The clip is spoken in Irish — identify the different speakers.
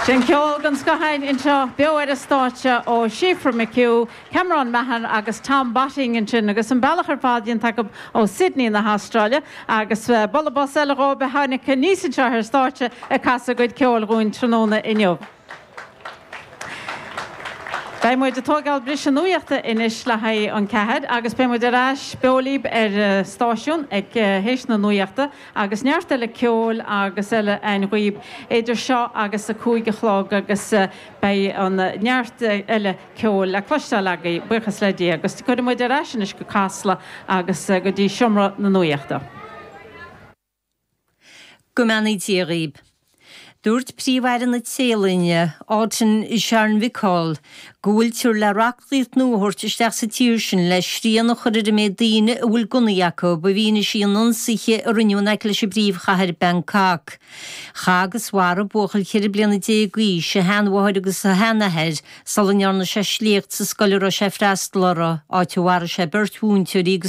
Speaker 1: Sin ceol den scoth againn anseo beo ar an stáitse ó Síofra McHugh, Cameron Mahon agus Tom Botting ansin agus an bealach ar fad déanta acu ó Sydney na hAstráile agus bualadh bos eile dhóibh a tháinig aníos anseo ar stáitse ag casadh a gcuid ceoil dhúinn tráthnóna inniu. Beidh muid ag tóigeáil briseadh nuachta anois le haghaidh an ceathair agus beidh muid ar ais beo libh ar an stáisiún ag théis na nuachta agus neart eile ceoil agus eile a'inn dhaoib idir seo agus a 5 a chlog agus beidh an neart eile ceoil le cloisteáil agaibh, buíochas le Dia. Agus cuirfidh muid ar ais anois go Casla agus go dtí seomra na nuachta.
Speaker 2: Go mbeannaí Dia dhaoib. Dúirt Príomh-Aire na Téalainne, Anutin Charnvirakul, go bhfuiltear le reachtaíocht nua a thabhairt isteach sa tír sin le srian a chur ar an méid daoine a bhfuil gunnaí acu, i bhfianaise an ionsaithe a rinneadh in aice leis an bpríomhchathair Bangkok. Chaith agus mharaigh buachaill 14 bliana d'aois a sheanmháthair agus a sheanathair sula ndearna sé sléacht sa scoil a raibh sé ag freastal orthu, áit a mharaigh sé beirt mhúinteoirí agus.